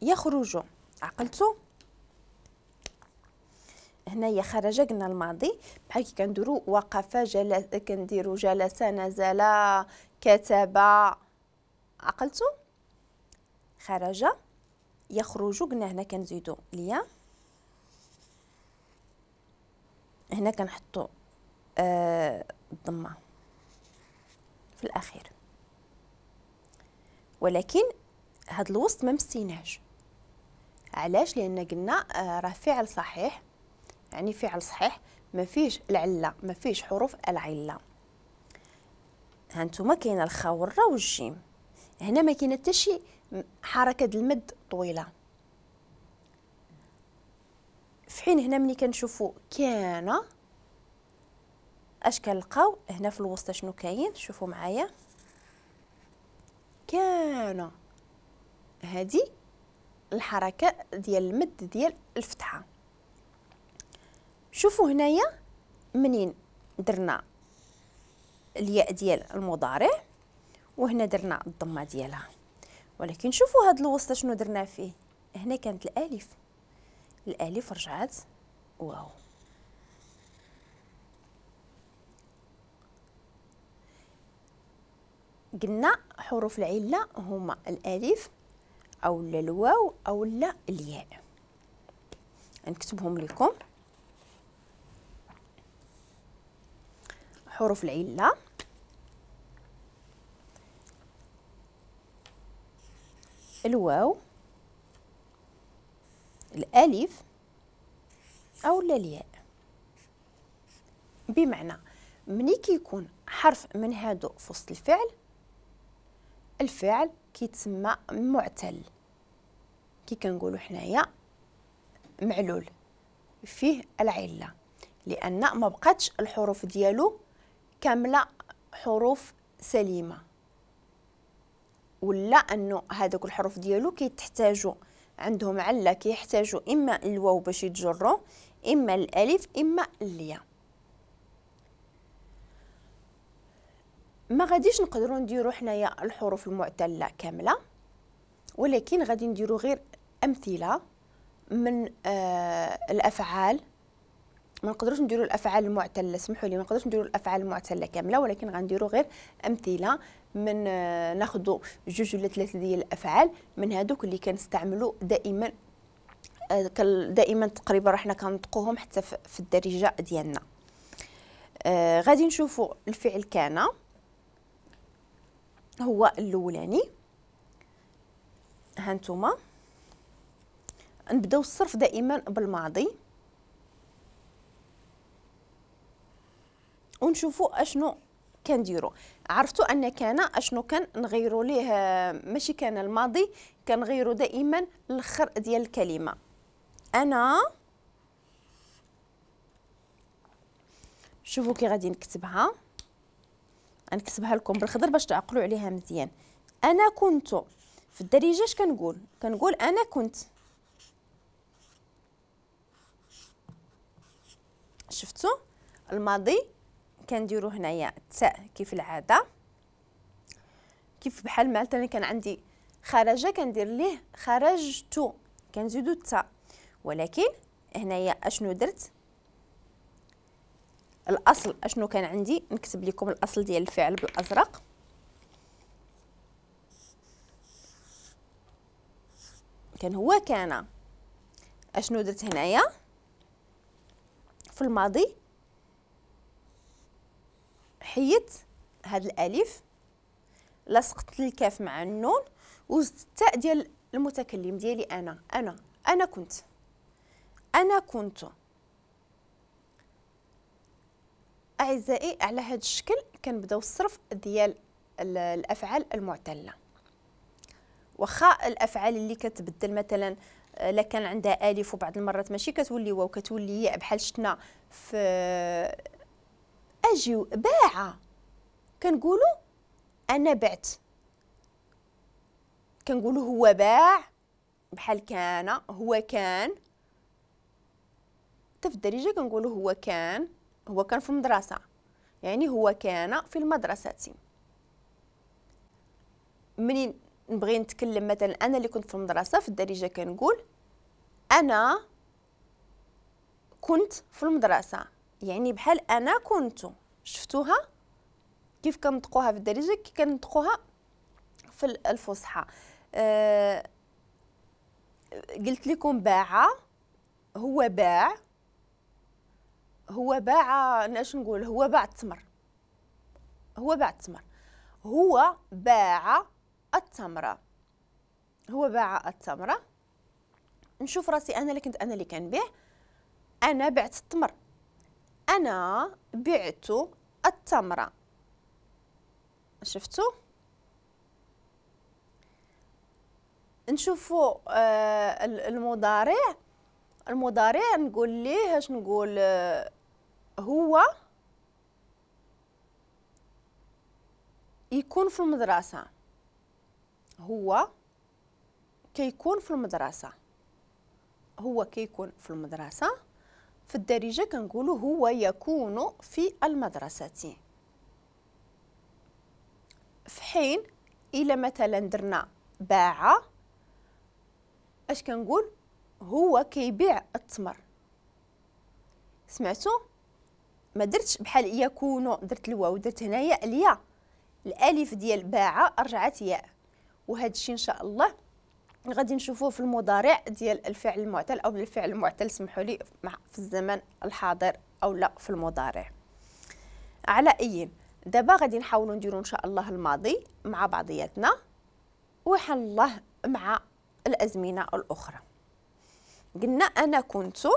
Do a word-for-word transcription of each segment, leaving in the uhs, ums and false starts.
يخرج. عقلتو؟ هنايا خرج قلنا الماضي، بحال كي كنديرو وقف، جلس، كنديرو جلس، نزل، كتب. عقلتو؟ خرج يخرج قلنا هنا كنزيدو الياء، هنا كنحطو آه الضمة في الاخير، ولكن هاد الوسط ما مستيناش. علاش؟ لان قلنا آه راه فعل صحيح، يعني فعل صحيح ما فيهش العلة، ما فيهش حروف العلة. هانتوما كاينه الخاء والراء والجيم، هنا ما كاينه حتى شي حركة المد طويلة. في حين هنا ملي كنشوفوا كان اش كنلقاو هنا في الوسط؟ شنو كاين؟ شوفوا معايا، كان هذه الحركة ديال المد ديال الفتحة. شوفوا هنايا منين درنا الياء ديال المضارع وهنا درنا الضمة ديالها، ولكن شوفوا هاد الوسط شنو درنا فيه. هنا كانت الالف، الالف رجعت واو. قلنا حروف العلة هما الالف او الواو او لا الياء. نكتبهم لكم حروف العلة. الواو، الالف او الياء. بمعنى ملي كيكون حرف من هادو في وسط الفعل، الفعل كيتسمى معتل، كي كنقولوا حنايا معلول فيه العلة، لان ما بقاتش الحروف ديالو كاملة حروف سليمة، ولا انه هذوك الحروف ديالو كيتحتاجوا عندهم عله، كيحتاجوا اما الواو باش يتجروا، اما الالف، اما الياء. ما غاديش نقدروا نديروا حنايا الحروف المعتله كاملة، ولكن غادي نديروا غير امثلة من آه الافعال. ما نقدروش نديروا الافعال المعتله، سمحوا لي، ما نقدروش نديروا الافعال المعتله كاملة، ولكن غنديروا غير امثلة من آه ناخذوا جوج ولا ثلاثة ديال الافعال من هذوك اللي كنستعملوا دائما، آه دائما تقريبا راه حنا كنطقوهم حتى في الدارجة ديالنا. آه غادي نشوفوا الفعل كان هو الاولاني. هانتوما نبداو الصرف دائما بالماضي ونشوفوا اشنو كنديروا. عرفتوا ان كان اشنو كان نغيروا ليه، ماشي كان الماضي، كنغيروا دائما الاخر ديال الكلمة. انا شوفوا كي غادي نكتبها، نكتبها لكم بالخضر باش تعقلوا عليها مزيان. انا كنت في الدارجة اش كنقول؟ كنقول انا كنت. شفتوا الماضي كنديروا هنايا التاء كيف العادة، كيف بحال مثلا كان عندي خرج كندير ليه خرجت، كنزيدو التاء. ولكن هنايا اشنو درت؟ الاصل اشنو كان عندي؟ نكتب لكم الاصل ديال الفعل بالازرق. كان هو كان. اشنو درت هنايا في الماضي؟ حيدت هاد الالف، لصقت الكاف مع النون وزدت التاء ديال المتكلم ديالي انا. انا انا كنت، انا كنت. اعزائي على هذا الشكل كنبداو الصرف ديال الافعال المعتله. واخا الافعال اللي كتبدل مثلا لا كان عندها الف وبعض المرات ماشي كتولي واو كتولي ياء، بحال شفنا في اجيو باع، كنقولوا انا بعت، كنقولوا هو باع، بحال كان هو كان. حتى في الدارجة كنقولوا هو كان، هو كان في المدرسة، يعني هو كان في المدرسة. منين نبغي نتكلم مثلا انا اللي كنت في المدرسة في الدارجة كنقول انا كنت في المدرسة، يعني بحال انا كنت. شفتوها كيف كنطقوها في الدارجة كي كنطقوها في الفصحى. أه قلت لكم باع، هو باع، هو باع، اش نقول، هو باع التمر، هو باع التمر، هو باع التمرة، هو باع التمرة. نشوف راسي انا اللي كنت انا اللي كنبيع، انا بعت التمر، انا بعت التمرة. شفتوا؟ نشوفوا آه المضارع. المضارع نقول ليه اش نقول، آه هو يكون في المدرسة، هو كيكون في المدرسة، هو كيكون في المدرسة. في الدارجة كنقولوا هو يكون في المدرسة. في حين إلا مثلا درنا باع، اش كنقول، هو كيبيع التمر. سمعتوا؟ ما درتش بحال يكون، درت الواو، درت هنايا الياء، الالف ديال باع رجعت ياء. وهذا الشيء ان شاء الله غادي نشوفوه في المضارع ديال الفعل المعتل او الفعل المعتل، سمحوا لي، في الزمن الحاضر او لا في المضارع. على اي دابا غادي نحاولوا نديروا ان شاء الله الماضي مع بعضياتنا، وحن الله مع الازمنة الاخرى. قلنا انا كنت،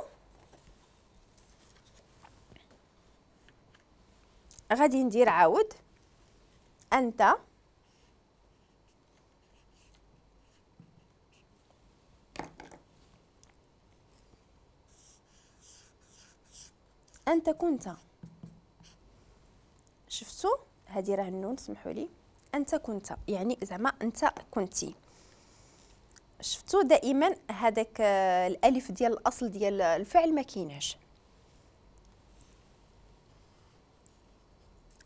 غادي ندير عاود انت، انت كنت. شفتوا هذه راه النون، سمحوا لي، انت كنت يعني زعما انت كنتي. شفتوا دائما هذاك الالف ديال الاصل ديال الفعل ما كايناش.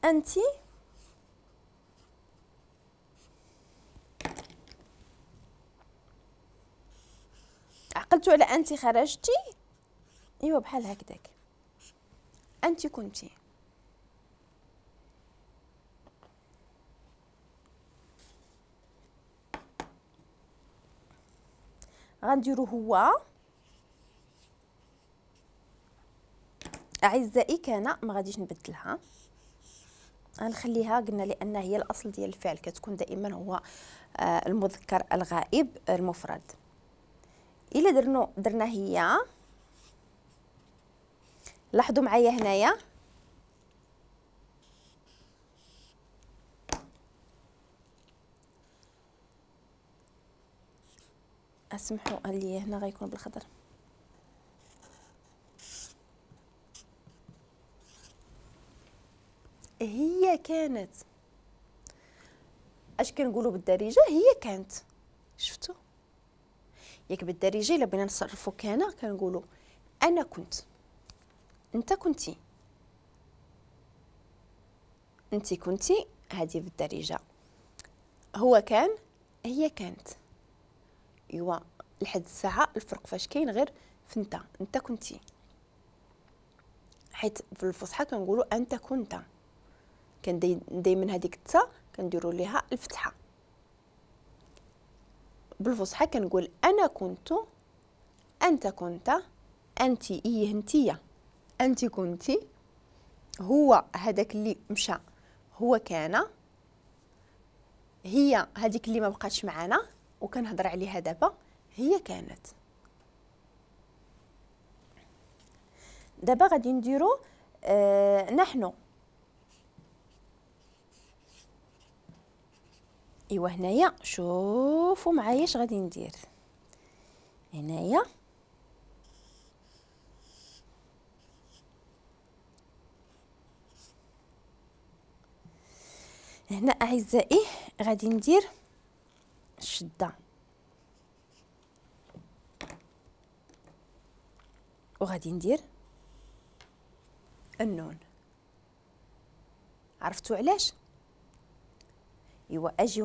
انت عقلتوا على انت خرجتي، ايوا بحال هكذاك، انت كنتي. غنديرو هو اعزائي كان، ما غاديش نبدلها، غنخليها قلنا لان هي الاصل ديال الفعل كتكون دائما هو المذكر الغائب المفرد. الا درنا درنا هي، لاحظوا معايا هنايا اسمحوا لي هنا غيكون بالخضر. هي كانت، اش كنقولوا بالدارجة، هي كانت. شفتوا ياك بالدارجة الا بغينا نصرفوا كان كنقولوا انا كنت، انت كنتي، انت كنتي، هذه بالدارجة. هو كان، هي كانت. ايوا لحد الساعة الفرق فاش كاين غير في انت، انت كنتي، حيت في الفصحى كنقولوا انت كنت، كان دائما هذيك التا كنديروا ليها الفتحة. بالفصحى كنقول انا كنت، انت كنت، انت ايه انتيا، انت كنتي، هو هذاك اللي مشى هو كان، هي هذيك اللي ما بقاتش معنا وكنهضر عليها دابا هي كانت. دابا غادي نديرو آه نحن. ايوا هنايا شوفوا معايا اش غادي ندير هنايا. هنا اعزائي غادي ندير الشدة وغادي ندير النون. عرفتوا علاش؟ ايوا اجي